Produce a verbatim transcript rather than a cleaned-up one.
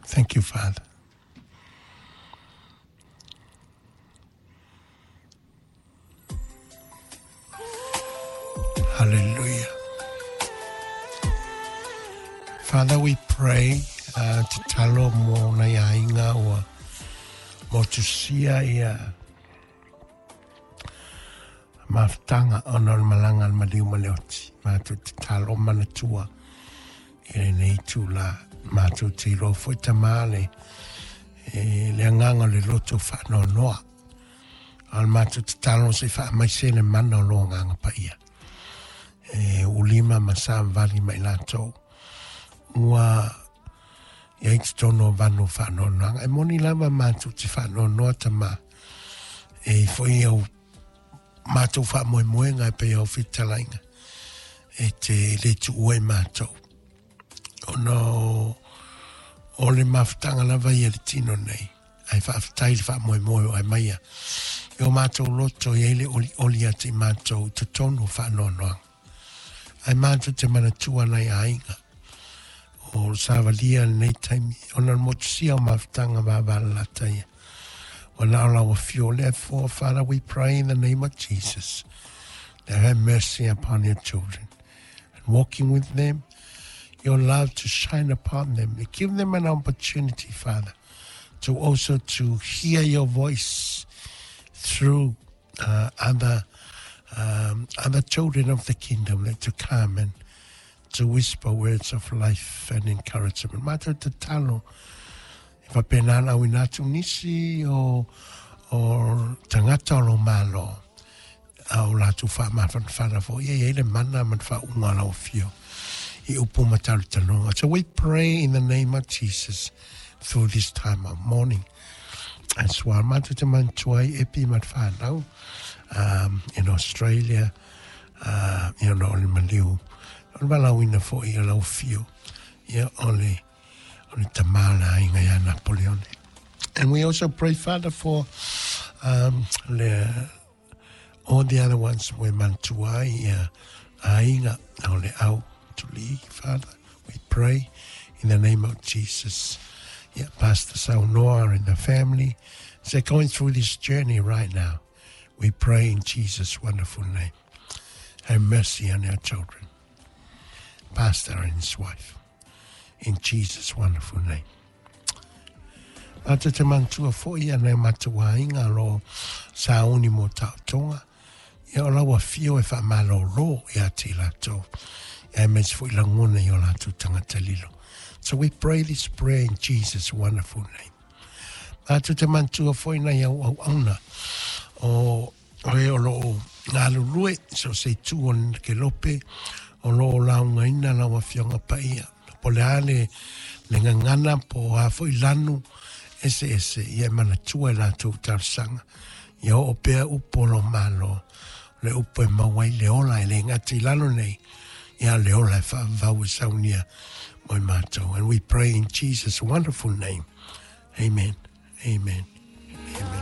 Thank you, Father. Hallelujah. Father, we pray uh, te talo mo nei ainga ua mo tusia ia mafutanga ona o le malaga a le maliu ma le oti. Matou te talo manatua i lenei tula. Matou te iloa foi tamā le, e, le agaga o le loto faanoanoa. A o le matou tatalo se i faamaise le mana o lo agaga paia. E ulima ma savavali mai latou. Ua i ai totonu o vanu faanoanoaga. E moni lava matou te faanoanoa tamā. E i foi au matou faamoemoega e pei au fetalaiga e te le tuua i matou. Ona o, o le mafutaga lava ia le tino nei. Ai faafetai le faamoemoe o ai maia. I o matou loto i ai le olioli ia te i matou i totonu o faanoanoaga. Ai matou te manatua nai aiga. O savalia lenei taimi. Ona le motusia o mafutaga vavalalata ia. Ua na o lau afio. Therefore, Father, we pray in the name of Jesus that have mercy upon your children and walking with them, your love to shine upon them. Give them an opportunity, Father, to also to hear your voice through uh, other um, other children of the kingdom, that to come and to whisper words of life and encouragement. Matou tatalo e faapena ona auina atu nisi o o tagata o lo Malo a o latou faamafanafana foi e i ai le mana ma le faauuga o lau afio i upu ma talotaloga. So we pray in the name of Jesus through this time of mourning. As well, matou te manatua ai Epi ma le whanau um, in Australia, uh, ia ona o le maliu. O le valaauina foi o lau afio, ia o le, o le tamā le aiga ia Napoleone. And we also pray, Father, for um, le, all the other ones we manatua ai ia aiga o le au tuli, Father. We pray in the name of Jesus. Yeah, Pastor Saunoa and the family, as they're going through this journey right now, we pray in Jesus' wonderful name. Have mercy on our children, Pastor and his wife, in Jesus' wonderful name. Matou te manatua foi ia nai o matou aiga o lo o sauni mo taotoga, ia o lau afio e faamalōlō ia te i latou, aemaise foi lagona i o latou tagata lilo. So we pray this prayer in Jesus' wonderful name. Matou te manatua foi nai au auauna o o e o lo o galulue so se itu o le kelope o lo o laugaina lau afioga paia. Po o le a le, le gagana po o a foi lanu eseese ia e manatua i latou talosaga. Ia oo pea upu o lo Malo, le upu e maua ai le ola e le gata i lalo nei, ia le ola e faavavau e saunia mo i matou. And we pray in Jesus' wonderful name. Amen. Amen.